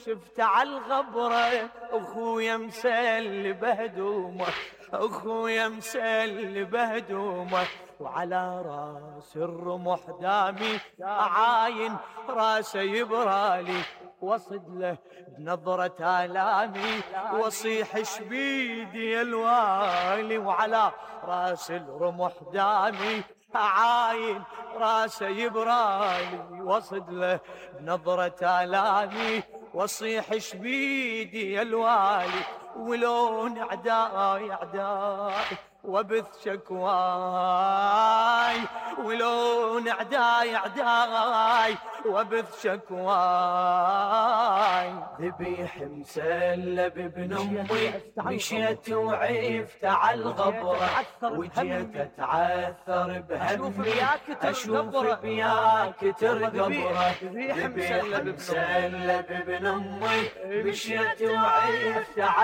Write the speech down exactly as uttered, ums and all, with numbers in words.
شفت عالغبرة اخويا مسلب هدومه، اخويا مسلب هدومه، وعلى راس الرمح دامي عاين راسه يبرالي، وصد له بنظرة آلامي وصيح شبيدي يا الوالي، وعلى راس الرمح دامي عاين راسه يبرالي، وصد له بنظرة آلامي وصيح شبيدي يا الوالي، ولون اعداي اعداي وبث شكواي، ولون اعداي اعداي وبث شكواي، ذبيح مسلب ابن امي مشيت وعفت عالغبرة، وجيت اتعثر بهمي اشوف بياك ترقبره، ذبيح مسلب ابن امي مشيت وعفت